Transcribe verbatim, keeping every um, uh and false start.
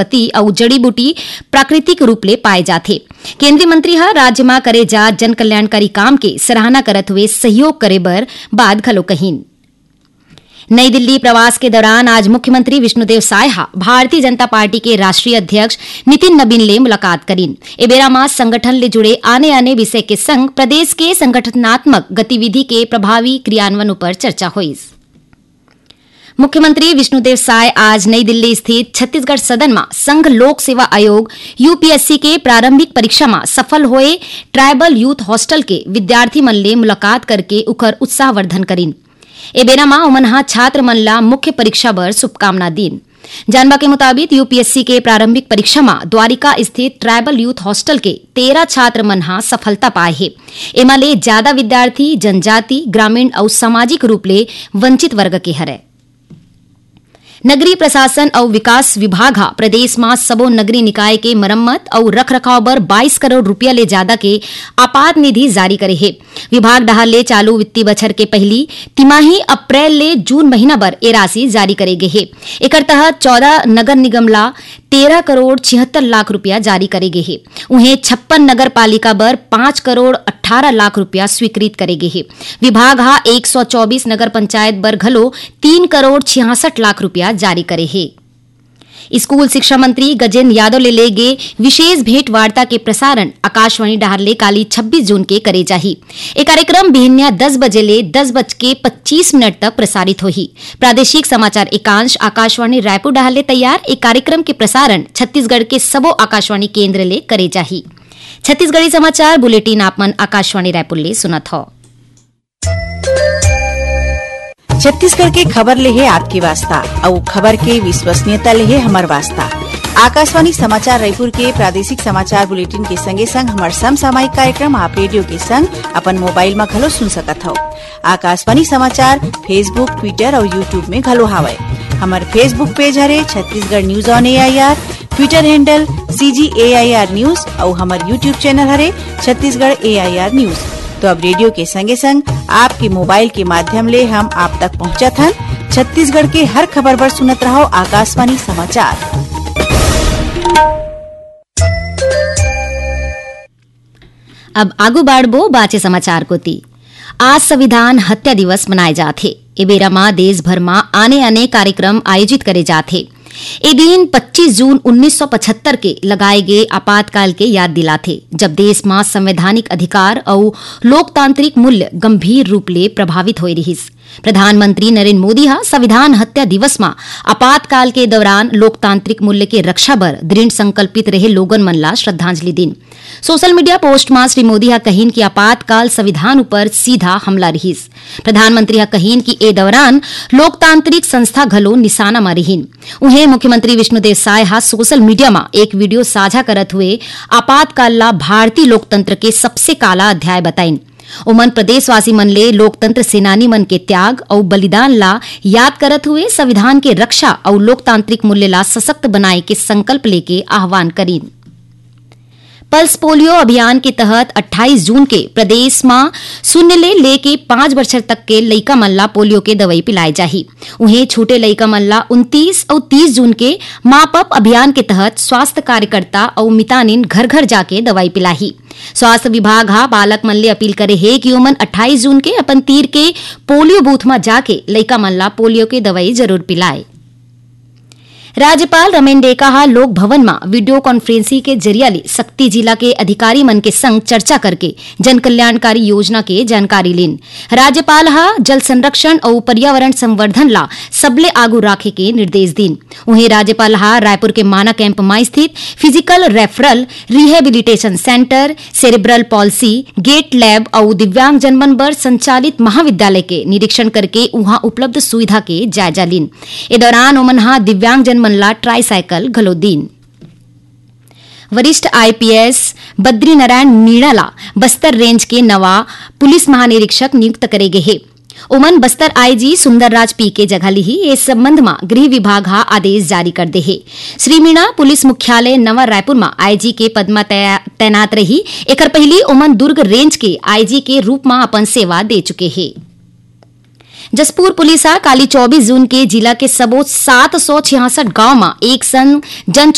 वनस्पति अउ जड़ी बूटी प्राकृतिक रूप ले पाए जाथे। केंद्रीय मंत्री ह राज्य म करे जात जन कल्याणकारी काम के सराहना करत हुए सहयोग करे बर बात घलो कहिन। नई दिल्ली प्रवास के दौरान आज मुख्यमंत्री विष्णुदेव साय ह भारतीय जनता पार्टी के राष्ट्रीय अध्यक्ष नितिन नबीन ले मुलाकात करिन। ए बेरा म संगठन ले जुड़े आने-आने विषय के संग प्रदेश के संगठनात्मक गतिविधि के प्रभावी क्रियान्वयन उपर चर्चा होइस। मुख्यमंत्री विष्णुदेव साय आज नई दिल्ली स्थित छत्तीसगढ़ सदन म संघ लोक सेवा आयोग, यूपीएससी, के प्रारंभिक परीक्षा म सफल होए ट्राइबल यूथ हॉस्टल के विद्यार्थी मन ले मुलाकात करके उखर उत्साहवर्धन करिन। ए बेरा म ओमन ह छात्र मन ला मुख्य परीक्षा बर शुभकामना दीन। जानबा के मुताबिक, यूपीएससी के प्रारंभिक परीक्षा म द्वारिका स्थित ट्राइबल यूथ हॉस्टल के तेरह छात्र मन ह सफलता पाए हे। एमा ले जादा विद्यार्थी जनजाति, ग्रामीण अउ सामाजिक रूप ले वंचित वर्ग के हरय। नगरीय प्रशासन अउ विकास विभाग ह प्रदेश म सबो नगरीय निकाय के मरम्मत अउ रखरखाव बर बाईस करोड़ रूपिया ले जादा के आपात निधि जारी करे हे। विभाग डहार ले चालू वित्तीय बछर के पहिली तिमाही अप्रैल ले जून महीना बर ए राशि जारी करे गे हे। एकर तहत चौदह नगर निगम ला तेरह करोड़ छिहत्तर लाख रूपिया जारी करे गे हे। उहें, छप्पन नगर पालिका बर पाँच करोड़ अट्ठारह लाख रूपिया स्वीकृत करे गे हे। विभाग ह एक सौ चौबीस नगर पंचायत बर घलो तीन करोड़ छियासठ लाख रूपिया जारी करे हे। स्कूल शिक्षा मंत्री गजेंद्र यादव ले ले गे विशेष भेंट वार्ता के प्रसारण आकाशवाणी डहार ले काली छब्बीस जून के करे जाही। ए कार्यक्रम बिहनिया दस बजे ले दस बज के पच्चीस मिनट तक प्रसारित होही। प्रादेशिक समाचार एकांश आकाशवाणी रायपुर डहार ले तैयार। ए कार्यक्रम के प्रसारण छत्तीसगढ़ के सबो आकाशवाणी केंद्र ले करे जाही। छत्तीसगढ़ी समाचार बुलेटिन आप मन आकाशवाणी रायपुर ले सुनत हव। छत्तीसगढ़ के खबर ले हे आपके वास्ता, अउ खबर के विश्वसनीयता ले हे हमर वास्ता। आकाशवाणी समाचार रायपुर के प्रादेशिक समाचार बुलेटिन के संगे संग हमर समसामयिक कार्यक्रम आप रेडियो के संग अपन मोबाइल म घलो सुन सकत हव। आकाशवाणी समाचार Facebook, Twitter अउ YouTube में घलो हावय। हमर Facebook पेज हरे Chhattisgarh news on AIR, Twitter handle CG AIR news अउ हमर YouTube चैनल हरे छत्तीसगढ़ एआईआर न्यूज। तो अब रेडियो के संगे संग आपके मोबाइल के माध्यम ले हम आप तक पहुंचत हन। छत्तीसगढ़ के हर खबर बर सुनत रहव आकाशवाणी समाचार। अब आगू बाढ़बो बाचे समाचार कोति। आज संविधान हत्या दिवस मनाए जात हे। ए बेरा म देश भर म आने-आने कार्यक्रम आयोजित करे जात हे। ए दिन पच्चीस जून उन्नीस सौ पचहत्तर के लगाए गे आपातकाल के याद दिलाथे, जब देश म संवैधानिक अधिकार अउ लोकतांत्रिक मूल्य गंभीर रूप ले प्रभावित होए रिहिस। प्रधानमंत्री नरेंद्र मोदी ह संविधान हत्या दिवस म आपातकाल के दौरान लोकतांत्रिक मूल्य के रक्षा बर दृढ़ संकल्पित रहे लोगन मन ला श्रद्धांजलि दीन। सोशल मीडिया पोस्ट म श्री मोदी ह कहिन कि आपातकाल संविधान ऊपर सीधा हमला रिहिस। प्रधानमंत्री ह कहिन कि ए दौरान लोकतांत्रिक संस्था घलो निशाना म रिहिन। उहें, मुख्यमंत्री विष्णुदेव साय ह सोशल मीडिया म एक वीडियो साझा करत हुए आपातकाल ला भारतीय लोकतंत्र के सबसे काला अध्याय बताइन। ओमन प्रदेशवासी मन ले लोकतंत्र सेनानी मन के त्याग अउ बलिदान ला याद करत हुए संविधान के रक्षा अउ लोकतांत्रिक मूल्य ला सशक्त बनाए के संकल्प लेके आह्वान करिन। पल्स पोलियो अभियान के तहत अट्ठाईस जून के प्रदेश म शून्य ले लेके पाँच बछर तक के लइका मन ला पोलियो के दवई पिलाए जाही। उहें, छूटे लइका मन ला उनतीस अउ तीस जून के माप अप अभियान के तहत स्वास्थ्य कार्यकर्ता अउ मितानिन घर-घर जाके दवई पिलाही। स्वास्थ्य विभाग ह बालक मन ले अपील करे हे कि ओमन अट्ठाईस जून के अपन तीर के पोलियो बूथ म जाके लइका मन ला पोलियो के दवई जरूर पिलाए। राज्यपाल रमेन डेका ह लोक भवन म वीडियो कॉन्फ्रेंसिंग के जरिया ले सक्ती जिला के अधिकारी मन के संग चर्चा करके जन कल्याणकारी योजना के जानकारी लीन। राज्यपाल ह जल संरक्षण अउ पर्यावरण संवर्धन ला सबले आगू राखे के निर्देश दीन। उहें, राज्यपाल ह रायपुर के माना कैंप म स्थित physical referral rehabilitation centre, cerebral palsy, gait lab अउ दिव्यांगजन मन बर संचालित महाविद्यालय के निरीक्षण करके उहां उपलब्ध सुविधा के जायजा लीन। ए दौरान ओमन ह दिव्यांगजन मन ला ट्राईसाइकिल घलो दीन। वरिष्ठ आईपीएस बद्रीनारायण मीणा ला बस्तर रेंज के नवा पुलिस महानिरीक्षक नियुक्त करे गे हे। ओमन बस्तर आईजी सुंदरराज पी के जगह लिही। ए संबंध म गृह विभाग ह आदेश जारी कर दे हे। श्री मीणा पुलिस मुख्यालय नवा रायपुर म आईजी के पद म तै-, तैनात रही। एकर पहिली ओमन दुर्ग रेंज के आईजी के रूप म अपन सेवा दे चुके हे। जशपुर पुलिस ह काली चौबीस जून के जिला के सबो सात सौ छियासठ गांव म एक संग जन